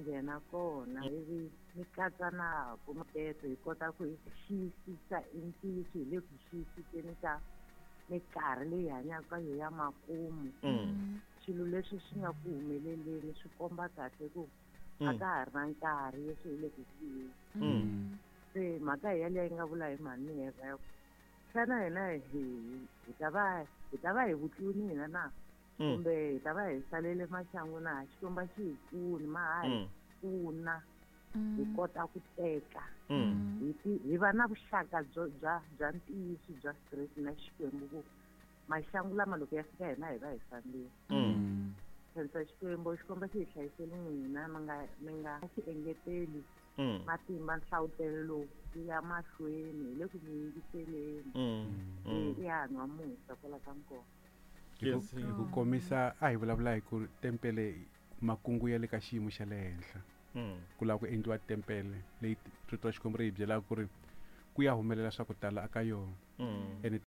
Nghena kona ivi mi katsa na kumateto hi kota ku hi xiyisisa i ntiyiso hi le ku xiyisiseni ka minkarhi leyi hanyaka ka yo ya makumu. Swilo leswi swi nga ku humeleleni swi komba kahle ku a ka ha ri na nkarhi, leswi hi le ku siyeni. Se mhaka hi yaleyo yi nga vula hi mhani Heva ya ku xana hina hi ta va hi vutluni hina na kumbe hi ta va hi salele maxangu na? Xikwembu a xi hi pfuni, ma ha hi pfuna hi kota ku teka hi va na vuxaka byo bya ntiyiso bya straight na Xikwembu, ku maxangu lama loko ya fika hina hi va hi fambile. Khensa Xikwembu, Xikwembu xi hi hlayiseli n'wina, mi nga xi engeteli matimba, nhlavutelo lowu wu ya mahlweni, hi le ku mi yingiseleni. I hanwa musa kwala ka nkona. Hi ku komisa, a hi vulavula hi ku tempele, makungu ya le ka xiyimo xa le henhla, ku lava ku endliwa tempele leyi rito ra Xikwembu ri hi byelaka ku ri ku ya humelela swa ku tala aka yona. Ene.